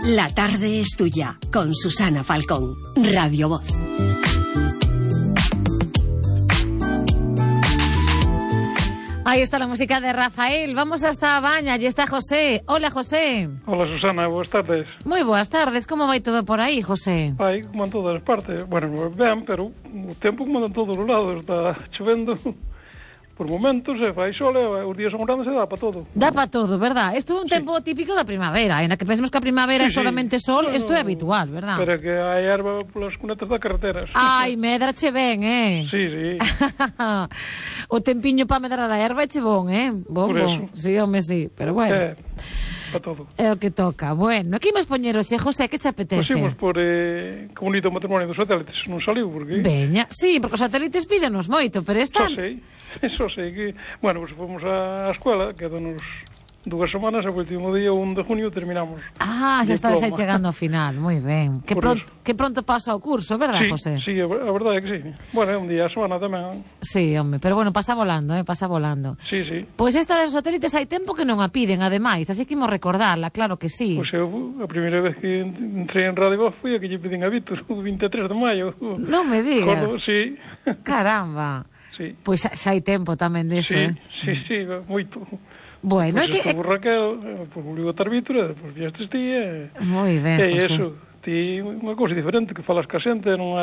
La tarde es tuya, con Susana Falcón, Radio Voz. Ahí está la música de Rafael. Vamos hasta Baña, allí está José. Hola, José. Hola, Susana, boas tardes. Moi boas tardes, como vai todo por aí, José? Vai, como en todas as partes. Bueno, ben, pero o tempo como en todos os lados. Está chovendo por momentos, se fai sol, e os días son grandes e dá para todo. Dá para todo, verdad? Isto é un tempo típico da primavera. En a que pensemos que a primavera é solamente sol, isto é habitual, verdad? Pero que hai erva polas cunetas das carreteras. Ai, medrache ben, Sí, sí. O tempiño para medrar a erva eche bon, Bon, por eso. Sí, home, sí, pero bueno. Para todo. É o que toca. Bueno, aquí imos poñer hoxe, José, que che apetece? Pois imos por que bonito matrimonio dos satélites, non saliu, porque... Veña, sí, porque os satélites pídenos moito, pero esta... Só sei que... Bueno, pues fomos á escola, quedanos 2 semanas, e o último día, 1 de junio, terminamos. Ah, xa estáis aí chegando ao final, moi ben. Que pronto pasa o curso, verdad, José? Sí, a verdade é que sí. Bueno, é un día a semana tamén. Sí, home, pero bueno, pasa volando, pasa volando. Sí, sí. Pois esta dos satélites hai tempo que non a piden, ademais, así que imos recordarla, claro que sí. Pois eu, a primeira vez que entrei en Radio Voz foi a que lle piden a Víctor, o 23 de maio. Non me digas. Sí. Caramba. Sí. Pois xa hai tempo tamén deso, Sí, moito. Bueno, pois é que... Estuvo Raquel, pois volviu a estar Víctor, pois viestes ti, moi ben, José. E iso, ti unha cousa diferente, que falas ca xente, non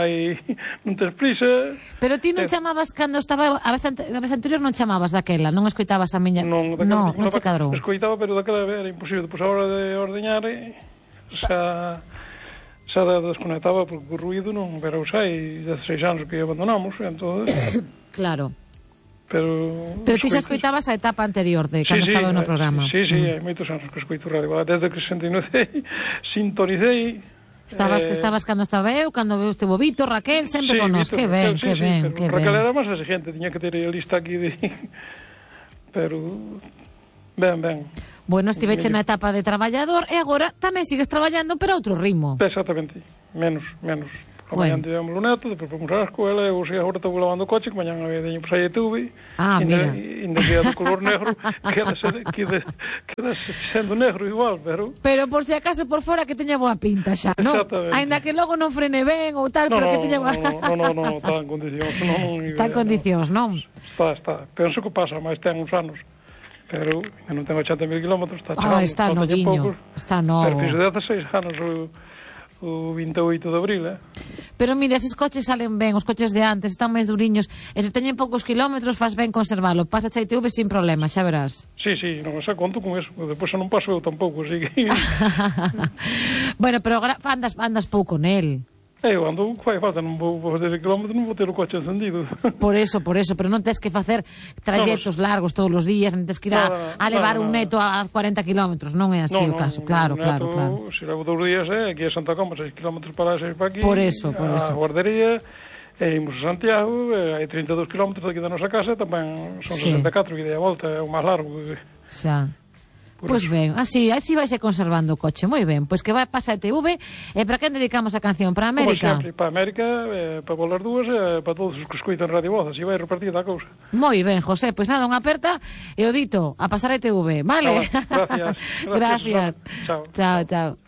tes prisa. Pero ti non chamabas cando estaba a vez anterior, non chamabas daquela, non escoitabas a miña... Non che cadrou. Escoitaba, pero daquela era imposible, pois a hora de ordeñar, xa desconectaba, porque o ruido non era usai, 16 anos que abandonamos, entón... Claro. Pero ti xa escoitabas a etapa anterior de cando estaba no programa. Sí, hai moitos anos que escoito radio. Desde que sintonicei. Estabas cando estaba eu, cando estivo Víctor, Raquel, sempre con nos. Que ben. Raquel era máis exigente, tiña que ter a lista aquí de... Pero... Ben. Bueno, estiveche na etapa de traballador e agora tamén sigues traballando, pero a outro ritmo. Exactamente, menos. A mañan tivemos o neto, depois fomos á escola, e agora estou lavando o coche, que mañan había deño por sair de TV, mira. Ainda queda do color negro, queda sendo negro igual, pero... Pero por si acaso por fora que teña boa pinta xa, non? Ainda que logo non frene ben ou tal, pero que teña boa... Non, está en condicións, non. Está en condicións, non? Está. Penso que pasa, mas ten uns anos. Pero non tengo 80.000 kilómetros, está chegando. Está noviño, está novo. Pero fixo 16 anos o 28 de abril, Pero mira, eses coches salen ben, os coches de antes están máis duriños, e se teñen poucos kilómetros faz ben conservalo, pasa a ITV sin problema, xa verás. Sí, non xa conto con eso, depois non paso eu tampouco, así que... Bueno, pero agora andas pouco nel. Eu ando, fai falta, non vou fazer kilómetros, non vou ter o coche encendido. Por eso, pero non tens que facer traxetos largos todos os días, non tens que ir a levar un neto a 40 kilómetros, non é así o caso, claro. Se levo 2 días, aquí a Santa Coma, 6 kilómetros para 6 para aquí, por eso. A guardería, e imos a Santiago, hai 32 kilómetros daqui da nosa casa, tamén son 64, que de a volta é o máis largo. Xa. Pois ben, así vaise conservando o coche, moi ben. Pois que vai pasar a TV, e para quen dedicamos a canción? Para América? Como sempre, para América, para volar dúas, e para todos os que escoitan Radio Voz, así vai repartida a cousa. Moi ben, José, pois nada, unha aperta, e o dito, a pasar a TV, vale? Gracias. Gracias. Chao.